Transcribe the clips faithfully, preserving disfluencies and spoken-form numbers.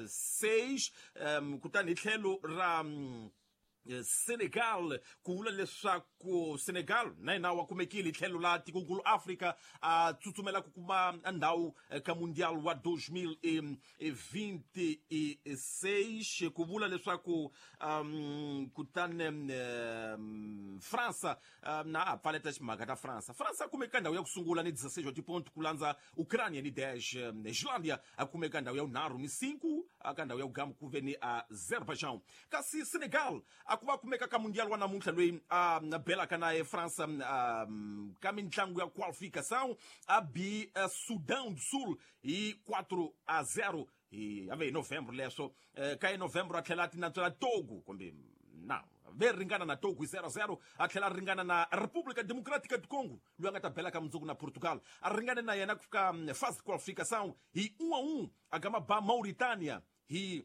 seis, um, kutani hi tlhelo ra um, Senegal ku vula leswaku Senegal na yena wa kumekile hi tlhelo la tikonkulu Afrika a tsutsumela ku kuma ndhawu ka Mundial wa dois mil e vinte e seis ku vula leswaku um, kutani um, França um, na a pfaleta ximhaka ta França. França a kumeka ndhawu ya ku sungula ni dezesseis wa tiponto ku landza Ucrânia ni dez, um, Islândia a kumeka ndhawu ya vunharhu ni cinco, ka ndhawu ya vugamu ku ve ni Azerbaijan. Kasi Senegal a ku va kumeka ka Mundial wa namuntlha loyi a belaka na eFrança um, ka mintlangu ya qualificação a bi Sudão do Sul hi quatro a zero hi ave hi Novembro leswo ka hi Novembro a tlhela a tinantswela Togo kumbe na ve ringana na Togo hi zero a zero a tlhela a ringana na República Democrática do Congo loyi a nga ta bela ka mundzuku na Portugal a ringane na yena ku fika fase qualificação hi um a um a gama ba Mauritânia hi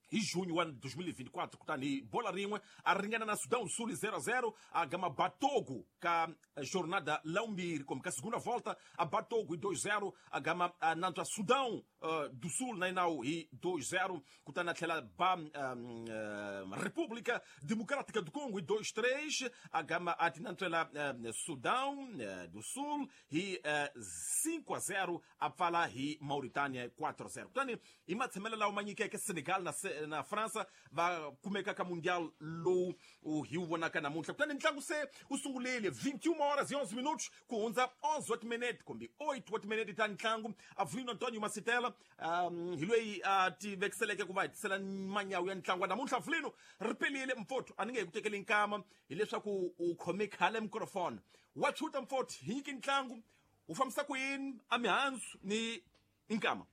hi junho wa dois mil e vinte e quatro kutani bola rin'we a ringana na Sudão do Sul zero a zero a gama ba Togo ka jornada laumbirhi kumbe ka segunda volta a ba Togo hi dois zero a gama a nantswa Sudão uh, do Sul na inawu hi dois zero kutani a tlhela ba um, uh, República Democrática do Congo hi dois três a gama a tinantswela uh, Sudão uh, do Sul hi uh, cinco a zero a pfala hi Mauritânia quatro a zero kutani hi matshamelo lawa ma nyikeke Senegal na na França va kumeka ka Mundial lowu hi wu vonaka namuntlha. Kutani ntlangu se wu sungulile vinte e uma horas e onze minutos ku hundza onze wa timinete kumbe oito wa timinete ta ntlangu. Avelino Antonio Masitela um, hi loyi a tivekiseleke ku va hi tisela manyawu ya ntlangu wa namuntlha. Avelino ri pelile mfotho a ni nge hi ku tekeli nkama hileswaku u khome khale microphone wa chuta mfotho hi nyiki ntlangu wu fambisa ku yini a mihandzu ni nkama.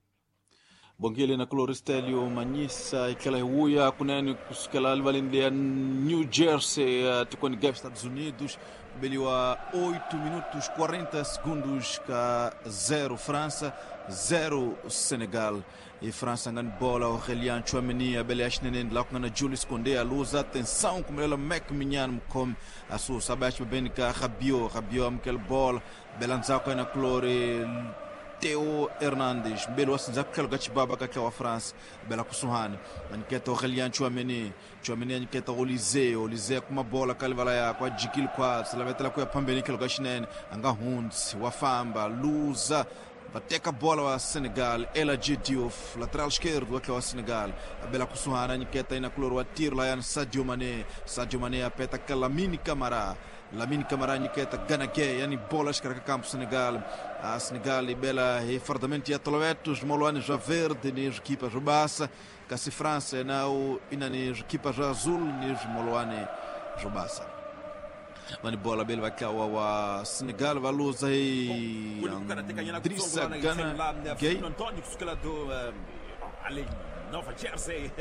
Bongile na Cloristelio Manyisa ikela huya kunene kusukela livaleni ya New Jersey tikweni ga Estados Unidos beliwa oito minutos quarenta segundos ka zero França zero Senegal. E França ngani bola Aurélien Tchouaméni abele ashnene la kungana Julius Koundé a luz atenção como ela Mac Minyan mkom asu sabash beben ka Rabiot Rabiot amkel bola belanza na Clore Theo Hernandez belo asinza kukhelo kachibaba kakhe wa France bela kusuhani aniketa Aurélien Tchouaméni Tchouaméni aniketa Olise Olise kuma bola kalivala yakwa jikil kwa silavetela kuya phambeni khelo kashinene anga Huntz wafamba luza bateka bola wa Senegal El Hadji Diouf lateral esquerdo wa Senegal abela kusuhana aniketa ina kulor wa tiro la yan Sadio Mané Sadio Mané apeta Lamine Camara Lamine Camara aniketa Gana Gueye yani bola escarca campo Senegal a Senegal e bela e fardamento ya toloetos moloane já verde nes equipas bassa kasi França na o ina nes equipas azul nes moloane bassa mani bola bela vai wa wa Senegal va luza e Idrissa Gana Gueye Antonio kusukela do além Nova Jersey,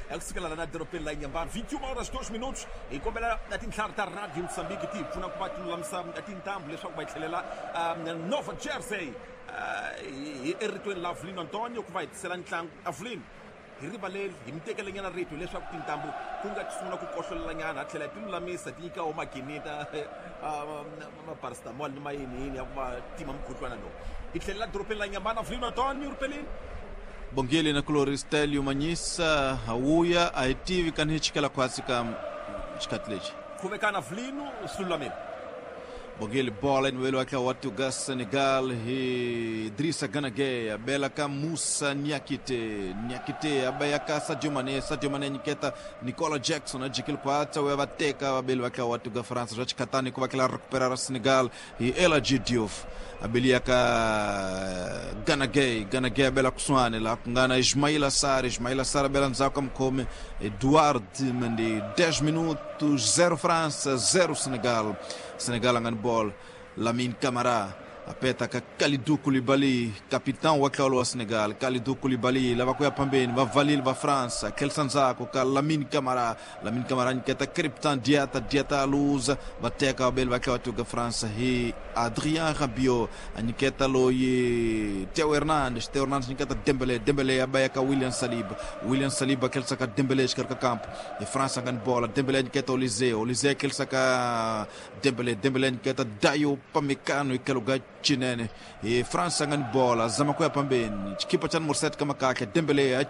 é kusukela la na dorobeni la Inhambane, vinte e uma horas dois minutos hi kombela na tintlhari ta Radio Mozambique ti hi pfuna ku va ti lulamisa tintambu leswaku va hi tlhelela Nova Jersey hi eritweni la Avelino Antonio ku va hi tisela ntlangu. Avelino hi rivaleli hi mi tekelenyana rito leswaku tintambu ku nga ti sungula ku kohlolelanyana a tlhela ti lulamisa ti nyika wo maginita ma-paracetamol ni mayini yini ya ku va tima mukhuhlwana lowu. Hi tlhelela dorobeni la Inhambane. Avelino Antonio ripelini. Bongile na Cloristelio Manyisa hauya aitivi kani chikela kwasi ka xikati lexi khomekana Avelino swi lulamile. Bongile bola inwelo wake watu ga Senegal hi Idrissa Gana Gueye abela ka Moussa Niakite Niakite abaya ka Sadio Mané Sadio Mané niketa Nicola Jackson ajikil kwatsa we bateka abele wake watu ga França já chikatani ku bakela recuperar Senegal hi El Hadji Diouf abelia ka Gana Gueye Gana Gueye abela kusuane la kungana Ismaila Sarr Ismaila Sarr abela nzaka mkhome Eduard Mendy dez minutos zero França zero Senegal Senegal ngani ball Lamine Camara apeta ka Kalidou Koulibaly capitão wa klalo wa Senegal Kalidou Koulibaly lava kuya pambeni va valil va França Kelson Zako ka Lamine Camara Lamine Camara niketa Crepin Diata Diata luza bateka abel va klalo ga França hi Adrien Rabiot aniketa loyi Theo Hernandez Theo Hernandez niketa Dembélé Dembélé abaya ka William Saliba William Saliba kelsa ka Dembélé escarca campo e França ngani bola Dembélé niketa Olise Olise kelsa ka Dembélé Dembélé niketa Dayo Upamecano e que lugar Chinene hi France a nga ni bola zama ku ya pambeni xikipa xa numero seven kama kahle Dembele a